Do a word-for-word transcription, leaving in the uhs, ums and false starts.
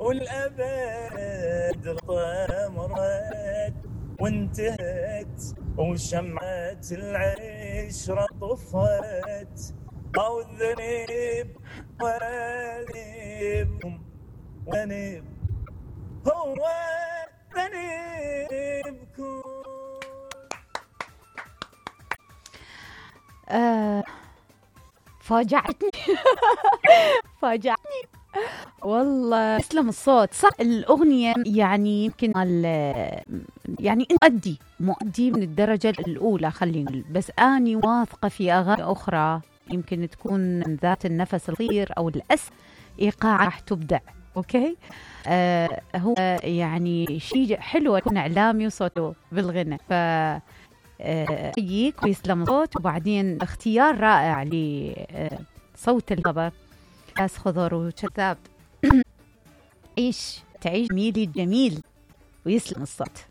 والأبد طمرت وانتهت وشمعة العشرة طفت، أو الذنب وذنبكم ذنب هو ذنبكم. آه فاجعتني فاجعتني والله. تسلم الصوت. صح الأغنية يعني يمكن يعني مؤدي مؤدي من الدرجة الأولى خلينا نقول، بس أني واثقة في أغاني أخرى يمكن تكون ذات النفس القصير أو الأس إيقاع راح تبدع. أوكي آه هو يعني شيء حلو يكون إعلامي وصوته بالغنى، ف أحييك ويسلم الصوت. وبعدين اختيار رائع لصوت الخبر، ناس خضر وشذاب. عيش تعيش ميلي جميل ويسلم الصوت.